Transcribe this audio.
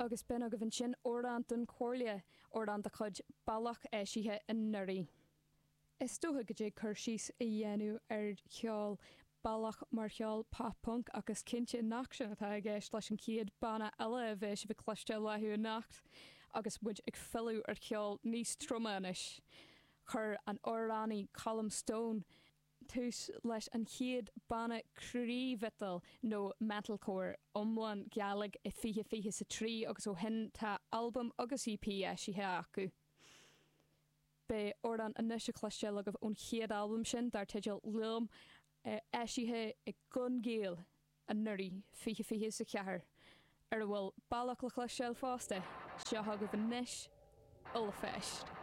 Agus b'in agaibh ansin Amhrán don Chomhairle, amhrán de chuid Bealach eisithe anuraidh. Is dócha go dtig cur síos a dhéanamh ar cheol Bealach mar cheol pop-punk ach is cinnte nach sin atá i gceist leis an chéad banna eile a bheidh sibh ag cloisteáil uathu anocht agus muid ag filleadh ar cheol níos troime anois. Chuir an amhránaí Colm Stone tús leis an chéad banna croí-mhiotail nó metalcore iomlán Gàidhlig i 2023 agus ó shin tá albam agus EP eisithe acu. Beidh amhrán anois á chloisteáil agaibh ón chéad albam sin dar teideal Liom, eisithe ag Gun Gael anuraidh, 2024, ar a bhfuil Bealach le cloisteáil fosta. Seo agaibh anois, Ollpheist.